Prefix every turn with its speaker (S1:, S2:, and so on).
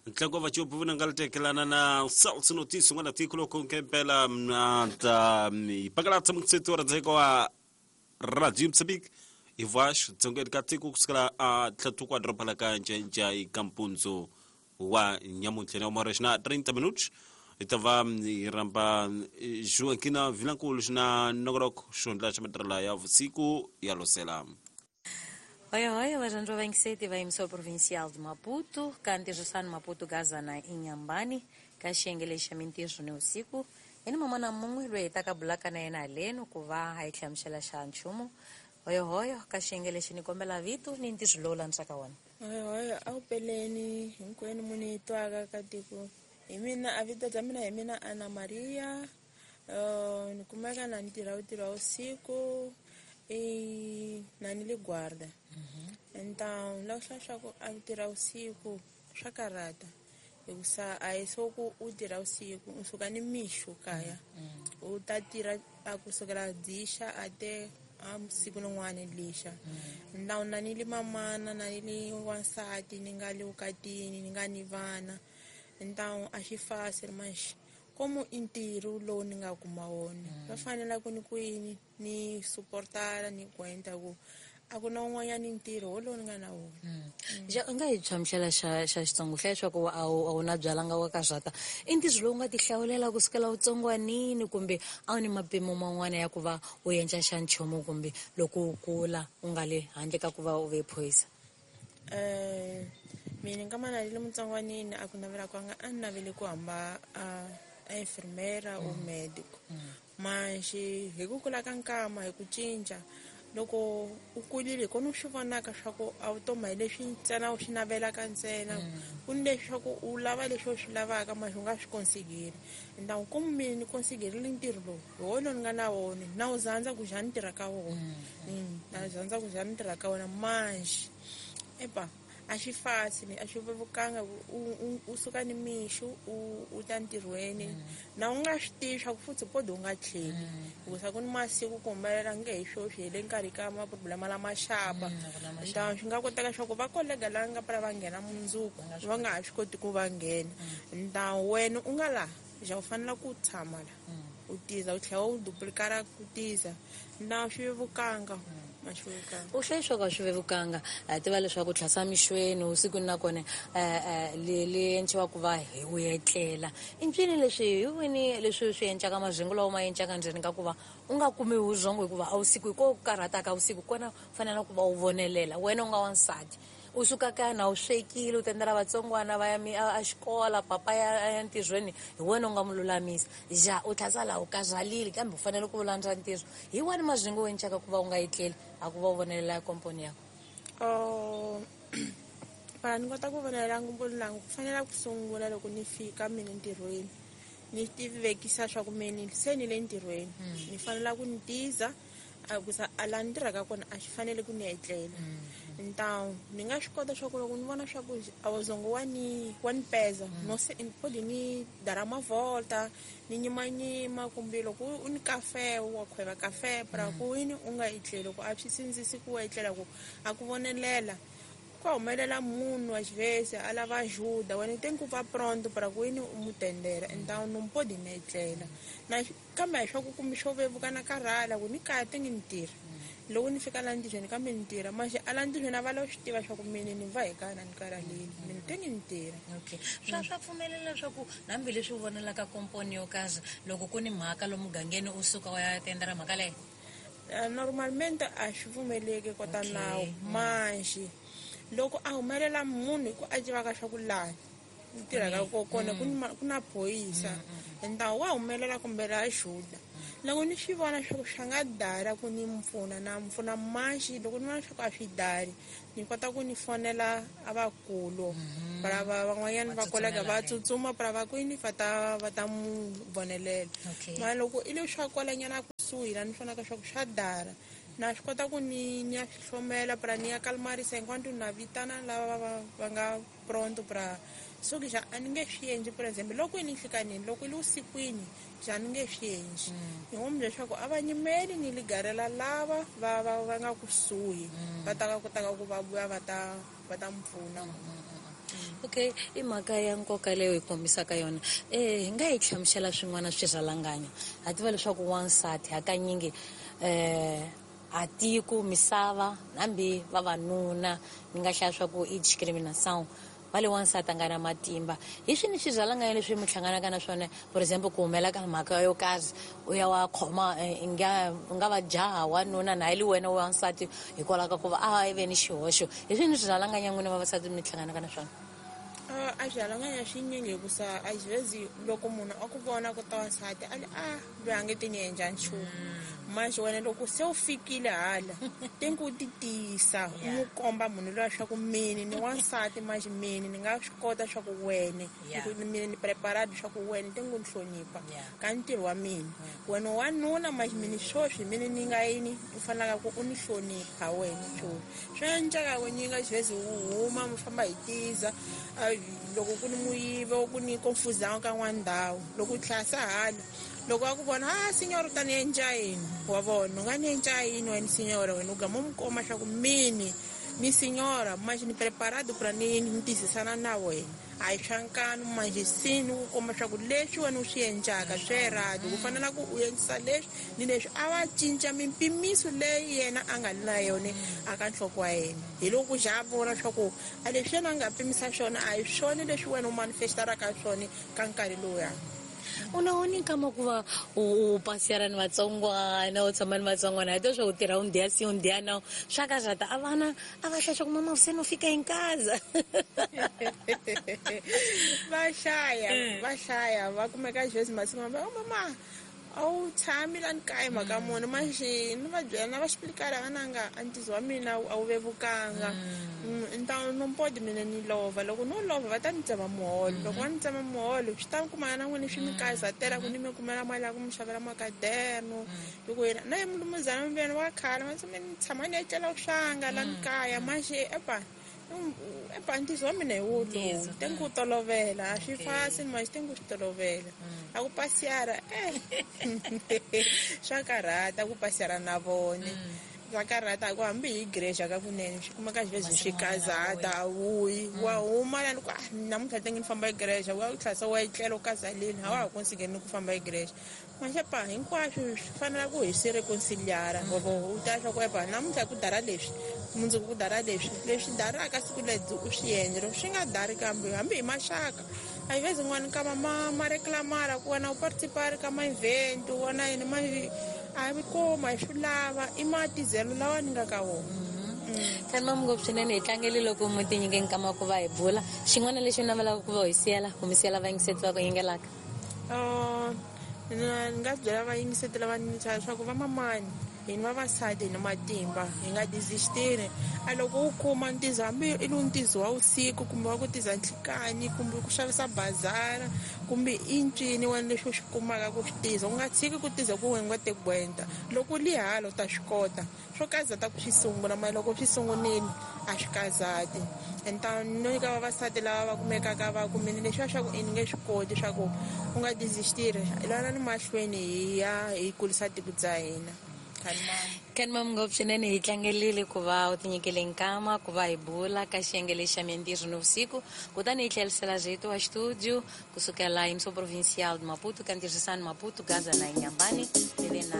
S1: Ntlangu wa vacopi vunanga tekelana na South Notice n'wana tiko loko nkempela na ta ipakalatsa mutseto wa radzeko wa Radio Mozambique ivax dzongeni ka tiko kusukela a tlhatuka wa doroba la ka Njenja eka mpundzu wa nyamuntlha na umara xina 30 minutos hi ta va hi rhamba Joaquina Vilankulu xina nongonoko xihundla xa matirhela ya vusiku ya losela.
S2: Oi, oi, varhandzi va vayingiseti va yimisiwa Provincial de Maputo ka ntirhisano Maputo Gazana Inhambane ka xiyenge lexi xa mintirho ni vusiku hi ni man'wana mun'we loyi hi taka bulaka na yena haleno ku va a hi hlamusela xa nchumu. Hoyohoyo ka xiyenge lexi ni kombela vito ni ntirho lowu landzaka wona.
S3: Hoyohoyo a wu peleni hinkwenu mu ni twaka ka tiko hi mina a vito bya mina hi mina Ana Maria. Ni kumeka na ni tirha ntirho wa vusiku i na ni le guarda. Então la swa swa ku a tirha vusiku swa karhata hikusa a hi swo ku u tirha vusiku u suka ni mixo kaya u ta tirha a kusukela dzixa a te a siku rin'wana lixa. Então na ni le mamana na ni le wansati ni nga le vukatini ni nga ni vana. Então a xi fasi manjhe como i ntirho lowu ni nga kuma wona va fanela ku ni ku ni ni suportana ni gwenta ku a ku na un'wanyani ntirho wolowo ni nga na wona.
S2: Ja u nga hi hlamusela xa xa Xitsongo hlaya leswaku a wu a wu na byalanga wa ka zwata i ntirho lowu nga ti hlawulela kusukela utsongwanini kumbe a wu ni mapimo man'wana ya ku va u endla xa nchumu kumbe loko u kula u nga le handle ka ku va u ve phorisa?
S3: Mina nkama na le mutsongwanini a ku navela kwanga a ni navele ku hamba a enfermera or medico. Manjhe hi ku kula ka nkama hi ku cinca loko u kulile hi kona u swi vonaka swa ku a vutomi hi leswi ntsena u swi navelaka ntsena ku ni leswi swa ku u lava leswi u swi lavaka manjhe u nga swi konsigeri. Então como mina ni konsigerile ntirho lowu hi wona ni nga na wona na wu zandza ku ja ni tirha ka wona. Na zandza ku ja ni tirha ka wona manjhe epa a xi fasi ni a xi vevukanga u suka ni mixo u ta ntirhweni na u nga swi tivi swa ku futhi podi u nga tlheli hikusa ku ni masiku ku humelela nge hi sweswi hi le nkarhi ka maproblema lama xapa. Então swi nga koteka swa ku va kolega lava nga pfula va nghena mundzuku va nga ha swi koti ku va nghena. Então wena u nga laha ja u fanela ku tshama la u tiza u tlhela u duplicata ku tiza na swi vevukanga.
S2: U hlaya leswaku a swi vevukanga a tiva leswaku tlhasa mixweni usikwini nakona le endliwa ku va hi u etlela i ncini leswi hi wini leswi swi endlaka mazingo lawa ma endlaka ndzeni ka ku va u nga kumi vurhongo hikuva a vusiku hi ko karhataka vusiku kona u fanele ku va u vonelela wena u nga wansati u suka kaya na u swekile u tendela vatsongwana va ya a xikola papa ya ntirhweni hi wena u nga mu lulamisa ja u tlhasa laha u karhalile kambe u fanele ku landza ntirho hi wani mazingo u endlaka ku va u nga etleli a ku va u vonelela komponi yakho.
S3: Para ni kota ku vonelela ngomponi langu ku fanele ku sungula loko ni fika mina ntirhweni ni tivekisa swa ku mina se ni le ntirhweni ni fanela ku ni tiza a ku sa a laha ni tirhaka kona a xi fanele ku ni etlela. Então ni nga swi kota swa ku loko ni vona swa ku a wuzongo wa ni wa ni peza no se podi ni dara mavolta ni nyimanyima kumbe loko u ni kafe wa khweva kafe para ku yini u nga etleli loko a swi sindzisi ku etlela ku a ku vonelela ku humelela munhu wa xivese a lava ajuda wena tem ku va pronto para ku yini u mu tendela. Então não pode ni etlela na kambe a swa ku kumbe xo vevuka na karhala ku ni kaya te ngi ni tirha loko ni fika laha ntirhweni kambe ni tirha manjhe a laha ntirhweni a va lava swi tiva swa ku mina ni va hi kana ni karhalile mina te ngi ni tirha.
S2: Okay, swa pfumelela leswaku hambileswi u vonelaka komponi yo karhi loko ku ni mhaka lomu mugangeni u suka u ya tendela mhaka leyo?
S3: Normalmente a swi pfumeleki kota nawu manjhe loko a humelela munhu hi ku a tivaka swa ku laha ni tirhaka kona ku na phorisa então wa humelela kumbe ra ajuda loko ni swi vona swa ku swa nga dara ku ni mpfuna na mpfuna manjhe loko ni vona swa ku a swi dari ni kota ku ni fonela a vakulu para van'wanyana va kolega va tsutsuma para va kwini va ta mu vonelela. Mara loko i le swa kwalanyana kusuhi la ni vonaka swa ku swa dara na swi kota ku ni ya swi hlomela para ni ya kalmarisa enquanto na vitana lava va nga pronto para so ke ja a ni nge swi endli. Por exemple loko i ni nhlikanini loko i le vusikwini ja ni nge swi endli ni ngo leswaku a va nyimeli ni ligarela lava va nga kusuhi va ta kotaka ku va vuya va ta Va ta mi pfuna.
S2: Okay, i mhaka ya nkoka leyo hi kombisaka yona. Hi nga yi hlamusela swin'wana swirhalanganyo. Ha tiva leswaku wansati hakanyingi a tiko misava hambi vavanuna ni nga hlaya swa ku i discrimination va le wansati a nga na matimba. Hi swini swirhalanganyo leswi mi hlanganaka na swona, for example ku humela ka mhaka yo karhi u ya wa khoma u nga va jaha wanuna na li wena wansati hikwalaho ka ku va a ve ni xihoxo. Hi swini swirhalanganyo n'wina vavasati mi hlanganaka na swona?
S3: A swirhalanganya swinyingi hikusa a xivezi loko munhu a ku vona ku ta wansati a li a loyi a nge ti ni endla nchumu. Manje wena loko se u fikile hala tengi u ti tiyisa u n'wi komba munhu luya swa ku mini ni wansati manje mini ni nga swi kota swa ku wene mini ni preparado swa ku wene tengi u ni hlonipha ka ntirho wa mina. Wena wanuna manje mini swoswi mini ni nga yini u fanelaka ku u ni hlonipha wena swoswi. Swi endleka ku nyinga xivezi u huma mi famba hi tiza loko ku ni muyivo ku ni confusão ka n'wana ndhawu loko u tlhasa hala loko a ku vona a signora u ta ni endla yini wa vona u nga ni endla yini wena signora wena u gama u mi komba swa ku mini ni signora manje ni preparado pra ni ni tizisana na wena a hi swa nkanu manje sini u komba swa ku leswi wena u swi endlaka swi erado ku fanela ku u endlisa leswi ni leswi a va cinca mimpimiso leyi yena a nga li na yona a ka nhloko wa yena. Hi loko ku za a vona swa ku a leswi yena a nga pimisa swona a hi swona leswi wena u manifestaraka swona ka nkarhi lowuya.
S2: U na wona nkama ku va u pasiyara ni vatsongwana u tshama ni vatsongwana hi swa u tirha un dia sim un dia não swa ka zata a vana a va hlaya ku mama você não fica em casa.
S3: Va hlaya va kumeka xivezi masiku va oh mama a wu tshami la ni kaya mhaka muni manje ni va byela na va xiplikala va nanga a ntizo wa mina a wu vevukanga. Nta no pode mina ni lova loko no lova va ta ni tsema muholo loko va ni tsema muholo swi ta kumana na n'wina swi mi kazatela ku ni mi kumela mali ya ku mi xavela makaderno loko yena na ye mulumuzana mi wa khala ma ni tshama ni etlela swanga la ni kaya manje epa ntizo wa mina hi wo lowu tengi ku tolovela a swi fasi manje tengi ku swi tolovela a ku pasiyara swa karhata ku pasiyara na vone swa karhata ku hambi hi igreja ka kunene swi kumeka xivezi swi kazata a wuyi wa huma lani ku namuntlha tengi ni famba igreja wa u tlhasa wa etlela u kazaleni a wa ha konsigeni ku famba igreja manje pa hinkwaswo swi fanela ku hi swi reconciliara u ta swa ku epa namuntlha ku dara leswi mundzuku ku dara leswi leswi daraka siku lebyi u swi endla loko swi nga dari kambe hambi hi maxaka a hi vezi n'wana nkama ma reclamara ku wena u participari ka ma-event wona yini ma a hi kuma hi swi lava i matizelo lawa ni nga ka wona.
S2: Tshama ngopfu swinene hi tlangele loko mi ti nyike nkama ku va hi bula. Xin'wana lexi u navelaka ku va hi siyela ku mi siyela vayingiseti va ku yingelaka?
S3: Ni nga byela vayingiseti lava ni leswaku vamamani hi ni vavasati hi ni matimba hi nga desistiri. A loko u kuma ntizo hambi i lu ntizo wa vusiku kumbe wa ku tiza nhlikani kumbe ku xavisa bazara kumbe i ncini wena leswi u swi kumaka ku swi tiza u nga tshiki ku tiza ku wena nga te gwenta loko u li hala u ta swi kota swo kazata ku swi sungula mara loko swi sungunile a swi kazati. Então no nyika vavasati lava va kumekaka va kumile leswiya swa ku i ni nge swi koti swa ku u nga desistiri lwana ni mahlweni hi ya hi kulisa tiko bya hina.
S2: Kanimam ngopfu swinene hi tlangelile ku va u tinyikele nkama ku va hi bula ka xiyenge lexi xa mintirho nivusiku kutani hi tlherisela rito wa xitudio kusukela Emissão Provincial de Maputo ka ntirhisano Maputo Gaza na Inhambane mi ve na